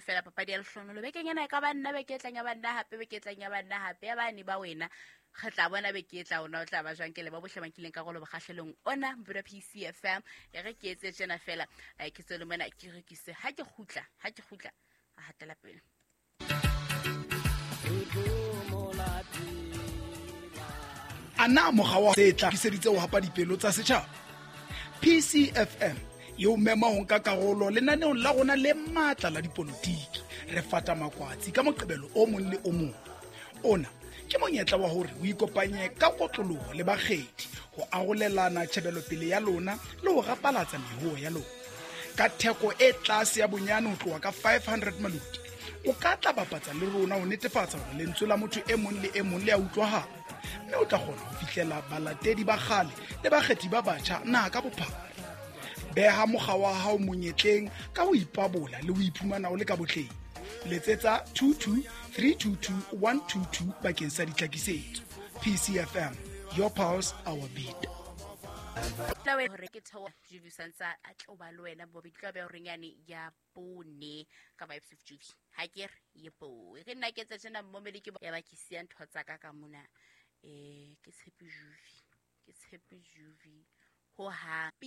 fela papadi ya lehlonolo bekeng ena e ka ba nna, beke e tlang ya ba nna hape, beke e tlang ya ba nna hape, ya bane ba wena re tla bona beke e tla ona o tla ba jwang. Ke leba bohle ba nkileng karolo bokgahlelong ona Mpuda PCFM. E re ke etse tjena fela, ke tswele mona ke rekise, ha ke kgutla, ha ke kgutla a hatela pele. A na mokga wa se tla kiseditse ho hapa dipelo tsa setjhaba? PCFM e o mema ho nka karolo lenaneong la rona le matla la dipolotiki. Re fata makwatsi ka Moqebelo o mong le o mong. Ona ke monyetla wa hore o ikopanye ka kotloloho le bakgethi ho arolelana tjhebelopele ya lona le ho rapalatsa mehoo ya lona. Ka theko e tlase ya bonyane ho tloha ka 500 maluti, o ka tla bapatsa le rona ho netefatsa hore lentswe la motho e mong le e mong le a utlwahala, mme o tla kgona ho fihlela balatedi ba kgale le bakgethi ba batjha naha ka bophara. Beha mokga wa hao monyetleng ka ho ipabola le ho iphumana o le ka botleng. Letsetsa 22 322 122 bakeng sa ditlhakisetso. PCFM, your pulse, our beat. Hore ke theoha Juvi santsa a tlo ba le wena bobedi tlo be horeng yane ya bone ka Vibes of Juvi. Ha ke re ye bo e re nna ke tse tjena mmomedi ke ya ba ke siya ntho tsa ka ka mona. Ke tshepe Juvi, ke tshepe Juvi ho ha pitso.